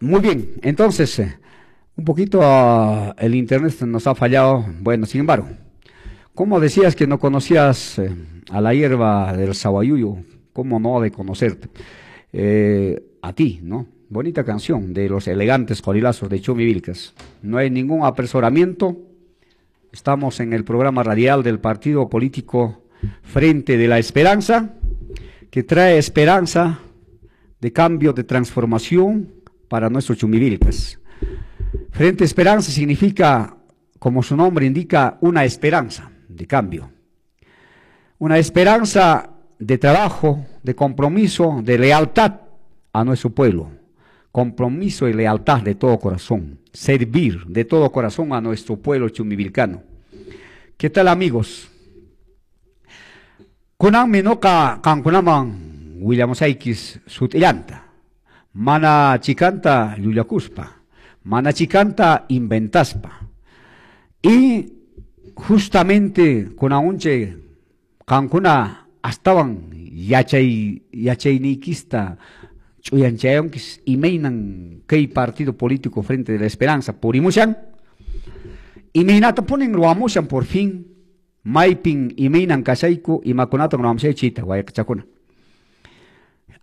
Muy bien, entonces, un poquito el internet nos ha fallado. Bueno, sin embargo, ¿cómo decías que no conocías a la hierba del Sawayuyo? ¿Cómo no de conocerte? A ti, ¿no? Bonita canción de los elegantes gorilazos de Chumbivilcas. No hay ningún apresuramiento. Estamos en el programa radial del partido político Frente de la Esperanza, que trae esperanza de cambio, de transformación para nuestro Chumbivilcas. Frente Esperanza significa, como su nombre indica, una esperanza de cambio. Una esperanza de trabajo, de compromiso, de lealtad a nuestro pueblo. Compromiso y lealtad de todo corazón. Servir de todo corazón a nuestro pueblo chumbivilcano. ¿Qué tal, amigos? Kunanmi noqa qankunaman willamusaykichis sut'illanta. Mana chikanta llullakuspa, mana chikanta inventaspa. Y justamente kunan p'unchay qankuna astawan yachay yachayniykista ch'uyanchayanchis imaynan kay partido político Frente de la Esperanza purimushan imaynata punin ruwamushan, por fin maypin imaynan kashayku, imakunatan ruwamushay chayta, wayqichakuna.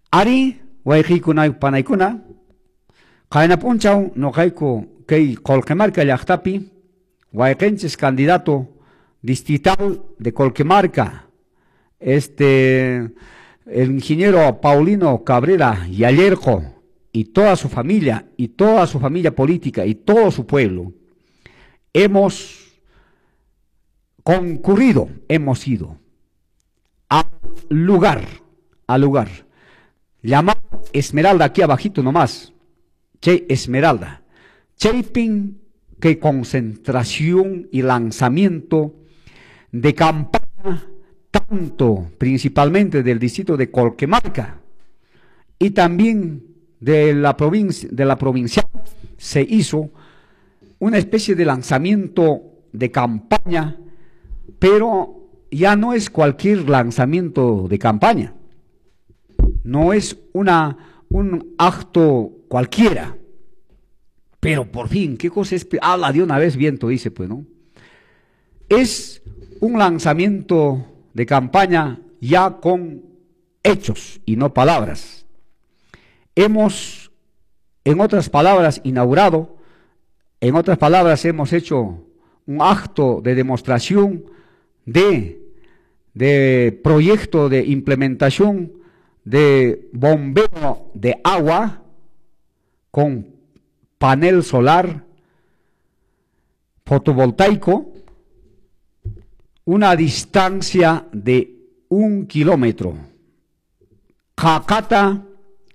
Ari, wayqiykuna, panaykuna, qayna p'unchaw noqayku kay Colquemarca llaqtapi wayqinchis candidato distrital de Colquemarca, el ingeniero Paulino Cabrera Yallerco, y toda su familia, y toda su familia política, y todo su pueblo, hemos concurrido, hemos ido al lugar llamado Esmeralda, aquí abajito nomás, Che Esmeralda, chaypin que concentración y lanzamiento de campaña, tanto principalmente del distrito de Colquemarca y también de la provincia, de la provincial, se hizo una especie de lanzamiento de campaña, pero ya no es cualquier lanzamiento de campaña, no es un acto cualquiera, pero por fin, ¿qué cosa es? Habla de una vez viento, dice, pues, ¿no? Es un lanzamiento de campaña ya con hechos y no palabras. Hemos, en otras palabras, inaugurado, en otras palabras, hemos hecho un acto de demostración de proyecto de implementación de bombeo de agua con panel solar fotovoltaico, una distancia de 1 kilómetro. Qaqata,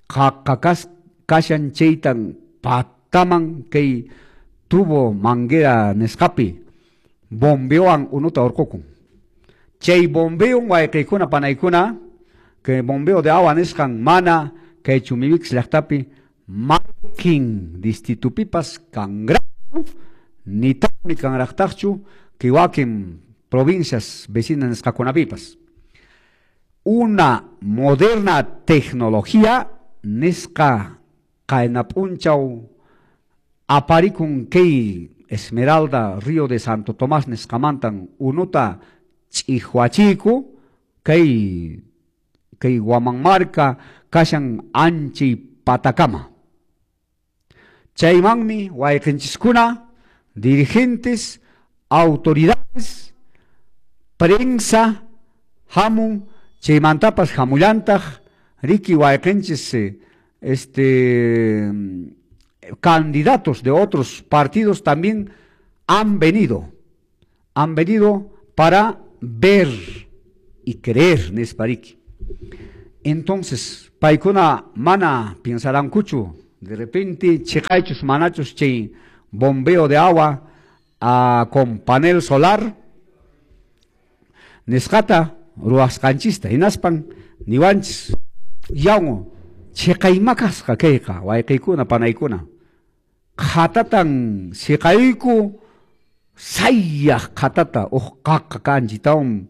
qaqakas, kashan chaytan pataman kay tubo manguera nisqapi bombeowan unuta urqukun. Chay bombeo, wayqiykuna, panaykuna, que bombeo de agua nisqan mana kay Chumbivilcas llaqtapi mayqin distritupipas kanraqchu, nitaqmi kanraqtaqchu kay wakin provincias vecinas nisqakunapipas. Una moderna tecnología nisqa qayna p'unchaw aparikun kay Esmeralda, Río de Santo Tomás nisqamantan unuta ch'ijwachiyku kay Huamanmarca kashan anchay patakama. Chaymanmi wayqinchiskuna, dirigentes, autoridades, prensa hamun, chaymantapas hamullantaq riki wayqinchis candidatos de otros partidos también han venido para ver y creer nispariki. Entonces, paykuna mana piensarankuchu, de repente chiqaychus manachus chay bombeo de agua con panel solar nisqata ruwasqanchista, hinaspan niwanchis: "Yaw, chiqaymá kasqa kayqa, wayqiykuna, panaykuna, qhatatan siqayku, sayaq qhatata, uq qaqa kanchitawan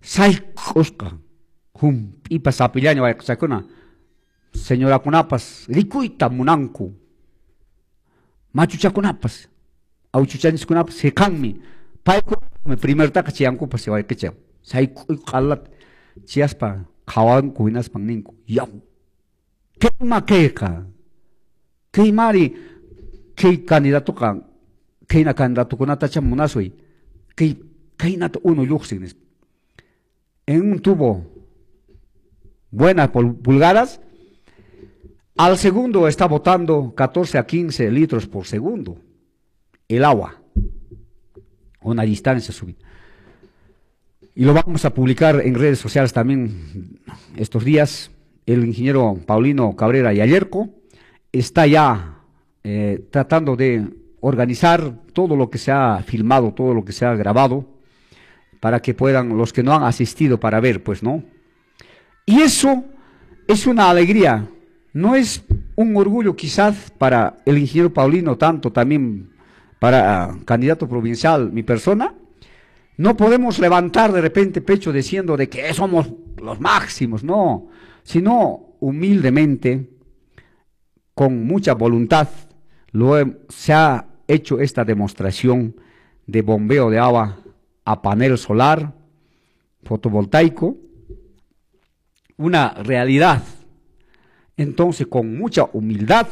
sayk'usqa hump'ipas apillaña." Wayqichakuna, señorakunapas rikuyta munanku. Machuchakunapas, awchuchanchiskunapas siqanmi. Paykunami primertaqa chiyankupas wayqicha. Sayk'uyku q'alata chiyaspa qhawanku hinaspan ninku, yaw, kayma kayqa, kaymari kay candidatoqa, kayna candidatokunatacha munasuy, kay kaynata unu lluqsin nispa. En un tubo buenas pulgadas, al segundo está botando 14 a 15 litros por segundo el agua, una distancia subida. Y lo vamos a publicar en redes sociales también estos días. El ingeniero Paulino Cabrera y Ayerco está ya tratando de organizar todo lo que se ha filmado, todo lo que se ha grabado, para que puedan los que no han asistido para ver, pues, ¿no? Y eso es una alegría, no es un orgullo quizás para el ingeniero Paulino, tanto también para candidato provincial, mi persona. No podemos levantar de repente pecho diciendo de que somos los máximos, no, sino humildemente, con mucha voluntad, se ha hecho esta demostración de bombeo de agua a panel solar, fotovoltaico, una realidad. Entonces, con mucha humildad,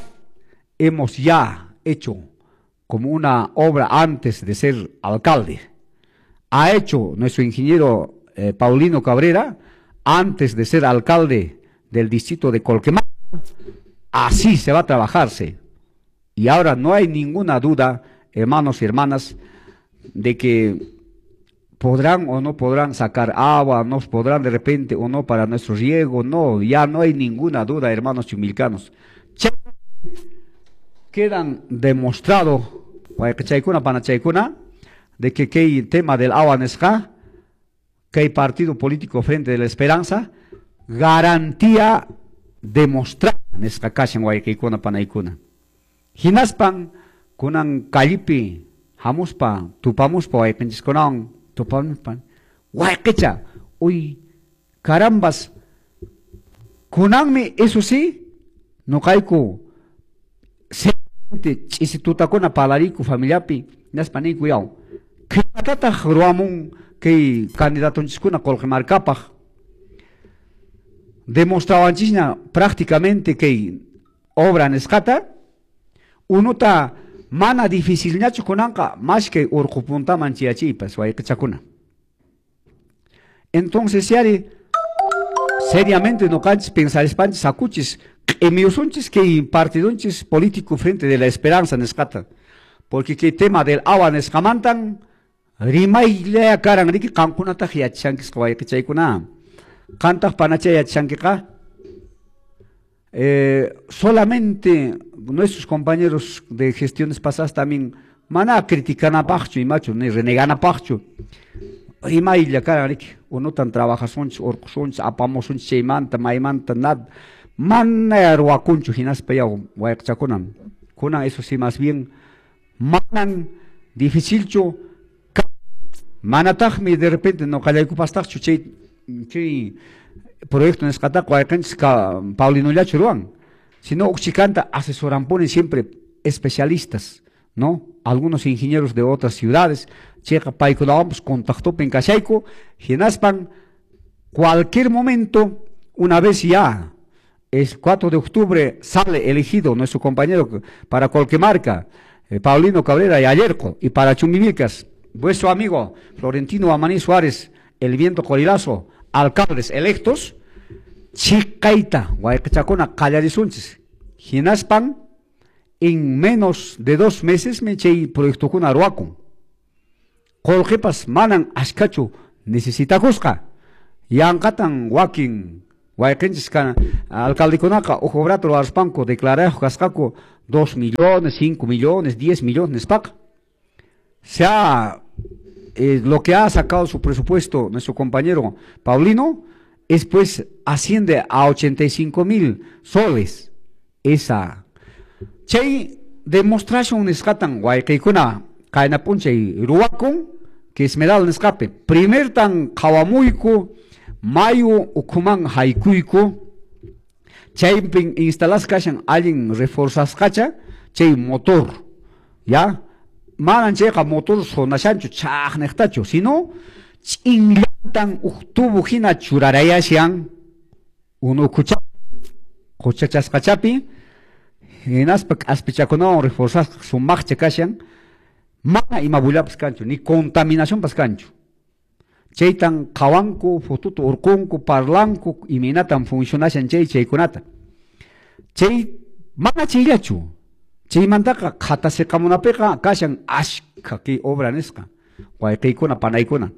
hemos ya hecho como una obra antes de ser alcalde. Ha hecho nuestro ingeniero Paulino Cabrera, antes de ser alcalde del distrito de Colquemarca. Así se va a trabajarse. Y ahora no hay ninguna duda, hermanos y hermanas, de que podrán o no podrán sacar agua, nos podrán de repente o no para nuestro riego, no, ya no hay ninguna duda, hermanos chumilcanos. Quedan demostrado, wayqichaykuna panachaykuna, de que el tema del agua nisqa, que hay partido político Frente de la Esperanza, garantía demostrar nisqa kashan wayqiykuna panaykuna. Hinaspan kunan kallipi hamuspa tupamuspa wayqinchiskunawan tupamuspa wayqicha, uy carambas, kunanmi eso sí, noqayku ch'isi tutakuna palariku familiapi, hinaspa niyku yaw, qhipatataq ruwamun kay candidatonchiskuna Colquemarcapaq, demostrawanchisña prácticamente kay obra nisqata, unuta mana dificilñachu kunanqa mas kay urqu puntaman chiyachiypas wayqichakuna. Entonces yari seriamente noqanchis pensarispanchis sakuchis q'imiyusunchis kay partidunchis político Frente de la Esperanza nisqata, porque kay tema del agua nisqamantan rimaylla karan riki qankunataq yachankiska wayqichaykuna, qantaq panacha yachankiqa. Solamente nuestros compañeros de gestiones pasadas también mana criticanapaqchu imachu ni reneganapaqchu, rimaylla karan riki unutan trabajasunchis urqusunchis apamusunchis chaymanta maymanta nada mana ruwakunchu hinaspa yaw wayqichakuna. Kunan eso sí más bien manan dificilchu, manataqmi de repente no qallaykupastaqchu chay proyecto nisqataqa wayqinchis Paulinollachu ruwan, sino ukchikanta asesoranpuni siempre especialistas, ¿no? Algunos ingenieros de otras ciudades, chayqa paykunawanpas contactopin kashayku, hinaspan cualquier momento, una vez ya el 4 de octubre sale elegido nuestro compañero para Colquemarca, Paulino Cabrera y Ayerco, y para Chumbivilcas, vuestro amigo Florentino Amaní Suárez, el viento corilazo, alcaldes electos, chiqayta wayqichakuna qallarisunchis, hinaspan en menos de 2 meses me chay proyectokuna ruwakun. Qullqipas manan ashkachu necesitakusqa, yanqatan wakin wayqinchis alcaldekunaqa uj obrata ruwaraspanku declarayuq kasqaku 2 millones, 5 millones, 10 millones nispaqa. Se ha, lo que ha sacado su presupuesto nuestro compañero Paulino es pues asciende a 85,000 soles esa. Chay demostración nisqatan wayqiykuna qayna p'unchay ruwakun que Esmeralda nisqapi. Primer tan qhawamuyku mayu ukhuman haykuyku, chaypin instalasqa kashan allin reforzasqacha chay motor. Ya, manan chayqa motor sonashanchu chaqniqtachu, sino ch'inllantan uq tubo hina churarayashan unu ukhuchapi quchachasqachapi hinaspa k'aspichakunawan reforzasqa sumaqcha kashan, mana ima bullapas kanchu, ni contaminacionpas kanchu. Chaytan qhawanku, fotuta urqunku, parlanku, imaynatan funcionashan chay chaykunata. Chay mana chayllachu. Chaymantaqa qhatasiqamunapiqa kashan ashkha kay obra nisqa, wayqiykuna panaykuna.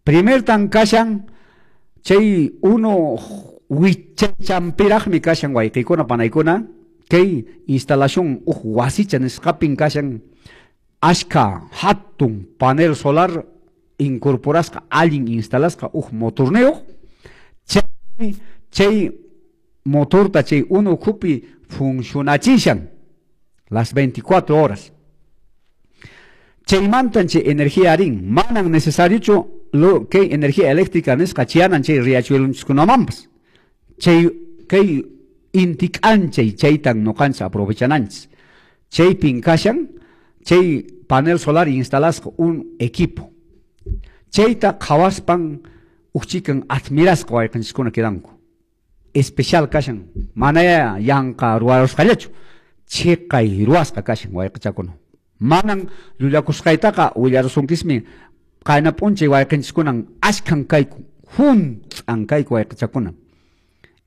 Primertan kashan chay unu wichaychampiraqmi kashan wayqiykuna panaykuna, kay instalación uq wasicha nisqapin kashan ashkha hatun panel solar incorporasqa, allin instalasqa uq motorniyuq, chay motorta chay unu ukhupi funcionachishan las 24 horas. Chaymantan chay energía rin, manan necesariochu lo kay energía eléctrica nisqa chayanan chay riachuelonchiskunamanpas. Chay kay inti k'anchay chaytan ñuqanchis aprovechananchis. Chaypin kashan chay panel solar instalasqa un equipo. Chayta qhawaspan uqchikan admirasqa wayqanchiskuna quedanku. Especial kashan, manaya yanqa ruwarusqallachu, chiqay ruwasqa kashan wayqichakuna. Manan llullakusqaytaqa willarusunkismi qayna p'unchay wayqinchiskunan ashkhan kayku, hunt'an kayku wayqichakuna.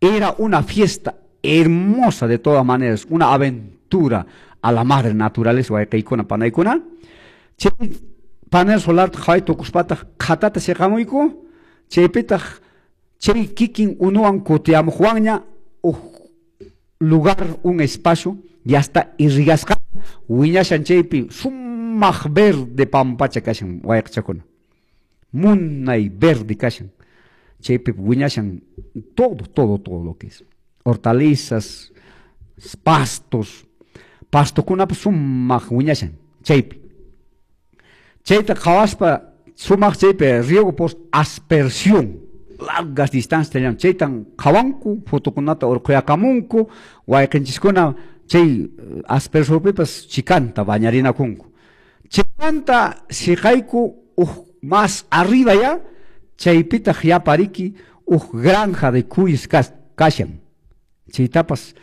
Era una fiesta hermosa de todas maneras, una aventura a la madre naturaleza wayqiykuna panaykuna. Chay panel solar qhaway tukuspataq qhatata siqamuyku, chaypitaq chay kikin unuwan kutiyamuqwanña uj lugar, un espacio, ya está irrigasqa, wiñashan chaypi sumaq verde pampacha kashan wayqichakuna. Munay verde kashan. Chaypi wiñashan todo, todo, todo lo que es. Hortalizas, pastos, pastokunapas sumaq wiñashan chaypi. Chayta qhawaspa sumaq chaypi riego por aspersión, largas distancias chaytan qhawanku, fotokunata urquyakamunku, wayqinchiskuna chay aspersorpipas chikanta bañarinakunku. Chaymanta siqayku uj más arriba ya, chaypitaq yapariki uj granja de cuyes kashan. Chaytapas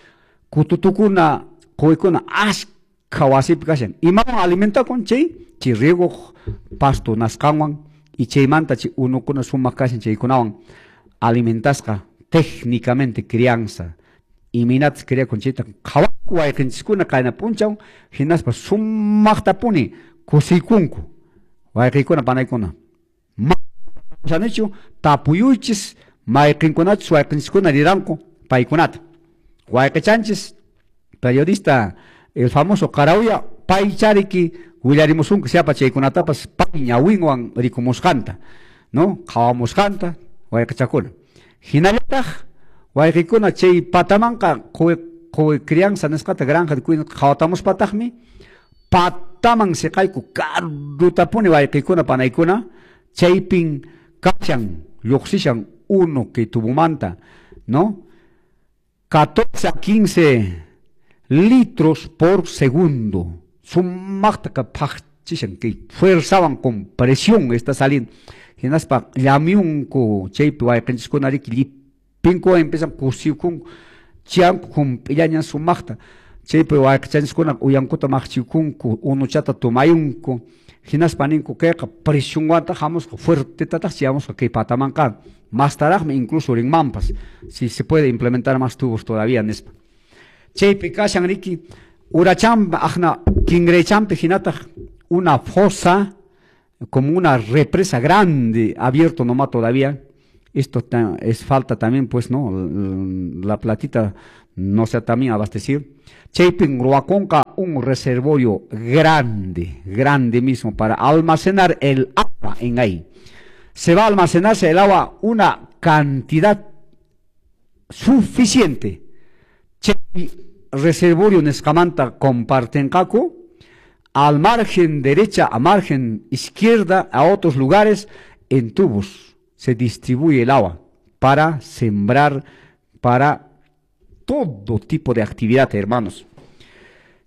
kututukuna, quykuna ashkha wasipi kashan. Imawan alimentakun chay chay riego pasto nasqanwan y chaymanta chay unukuna sumaq kashan chaykunawan alimentasqa técnicamente crianza. Imaynatas criakun chayta qhawanku wayqinchiskuna qayna p'unchaw hinaspa sumaqtapuni kusiykunku wayqiykuna panaykuna. Machanichu tapuyuychis mayqinkunachus wayqinchiskuna riranku paykunata. Wayqichanchis periodista el famoso Qarauya paychariki willarimusunku siapa chaykunatapas pay ñawinwan rikumusqanta, no? Qhawamusqanta wayqichakuna. Hinallataq wayqikuna chay patamanqa quwi crianza nisqata granja de cuy qhawatamuspataqmi pataman siqayku karrutapuni wayqikuna panaykuna chaypin kashan lluqsishan uno kay tubomanta, no? 14 a 15 litros por segundo. Sumaqta phaqchishan kay fuerzawan con presión está saliendo. Hinaspa llamiunku chaypi wayqinchiskuna riki llipinku empiezan kusikunku chianku hump'illañan sumaqta. Chaypi wayqichanchiskuna uyankuta maqchikunku unuchata tumayunku. Hinaspa ninku kayqa presionwantaq hamusqa fuertetataq chiyamusqa kay patamanqa. Mastaraqmi incluso rinmanpas si se puede implementar más tubos todavía nispa. Chaypi kashan riki urachampa aqna kingraychampi hinataq una fosa como una represa grande abierto nomás todavía. Esto es falta también, pues, ¿no? La platita no se ha también abastecido. Chaypin ruwakunqa un reservorio grande, grande mismo para almacenar el agua en ahí. Se va a almacenarse el agua una cantidad suficiente. Chay reservorio nisqamanta compartenqaku al margen derecha, a margen izquierda, a otros lugares en tubos se distribuye el agua para sembrar, para todo tipo de actividad, hermanos.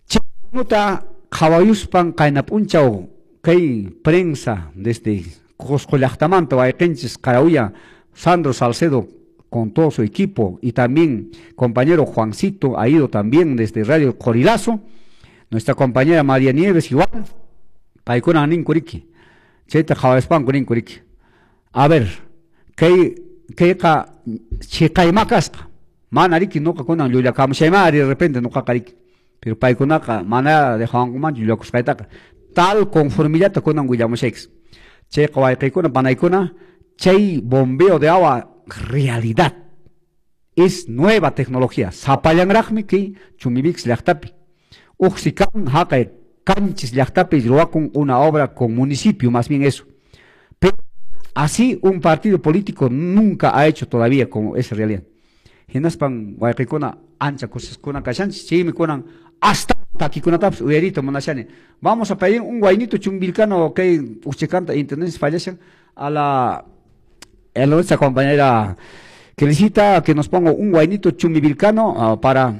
Chayunuta qhawayuspan qayna p'unchaw kay prensa desde Cusco llaqtamanta wayqinchis Qarawuya Sandro Salcedo con todo su equipo y también compañero Juancito ha ido también desde Radio Corilazo, nuestra compañera María Nieves igual, paykuna ninku riki, chayta qhawaspanku ninku riki. A ver, kay kayqa chiqayma kasqa, mana riki nuqa kunan llullakamushaymari de repente nuqaqa riki, pero paykunaqa mana dejawankumanchu llullakusqaytaqa, tal conformillata kunan willamushayks. Chayqa wayqiykuna panaykuna, chay bombeo de agua realidad es nueva tecnología, sapallanraqmi kay Chumbivilcas llaqtapi. Uqsi kan haqay Canchis llaqtapi ruwakun una obra con municipio, más bien eso. Pero así un partido político nunca ha hecho todavía con esa realidad. Hinaspan wayqiykuna ancha kusiskuna kashanchis, chaymi kunan hasta takikunatapas uyariyta munashani. Vamos a pedir un guaynito chumbilcano kay uchikanta internet fallashan a la nuestra compañera que necesita que nos ponga un guaynito chumbivilcano para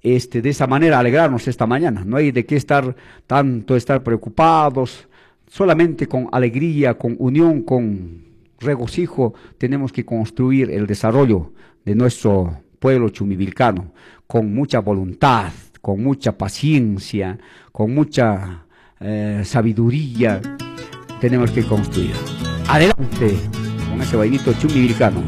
de esa manera alegrarnos esta mañana. No hay de qué estar tanto estar preocupados, solamente con alegría, con unión, con regocijo tenemos que construir el desarrollo de nuestro pueblo chumbivilcano, con mucha voluntad, con mucha paciencia, con mucha sabiduría tenemos que construir. Adelante con ese vainito chumbivilcano.